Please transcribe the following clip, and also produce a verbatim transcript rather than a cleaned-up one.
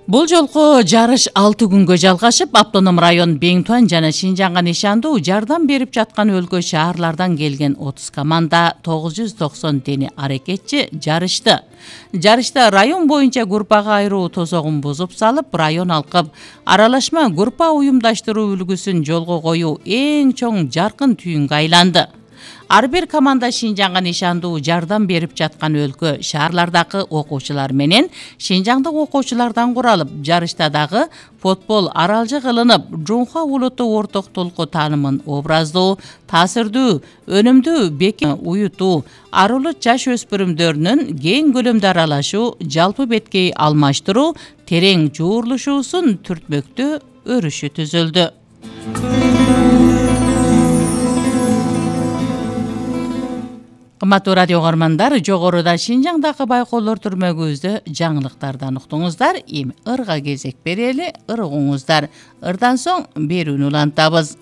Бул жолку жарыш алты күнгө жалгашып, автоном район Бең Туан жана Шинжаңга нишандуу жардам берип жаткан өлкө шаарлардан келген отуз команда тогуз жүз токсон тени аракетчи жарышты. Жарышта район боюнча группага айыруу тозогун бузуп салып, район алкып аралашма группа уюмдаштыруу үлгүсүн жолго коюу эң чоң жаркын түйүнгө айланды. Ар бир команда Шинжаңга нишандуу жардам берип жаткан өлкө шаарлардагы окуучулар менен Шинжаңдык окуучулардан куралып, жарышта дагы футбол аралжы кылынып, Жунха улуттук орток толку таанымын образдуу, таасирдүү, өнүмдүү бекем уютуу, арулуу жаш өспүрүмдөрүнүн кең көлөмдө аралашуу, жалпы беткей алмаштыруу, терең жуурулушуусун түртмөктөө өрүшү түзүлдү. Кымбаттуу радио угармандар, жогоруда Шинжаңдагы байкоолор түрмөгүбүздө жаңылыктардан уктуңуздар. Эми ырга кезек берели, ыргыңыздар. Ырдан соң берүүнү улантабыз.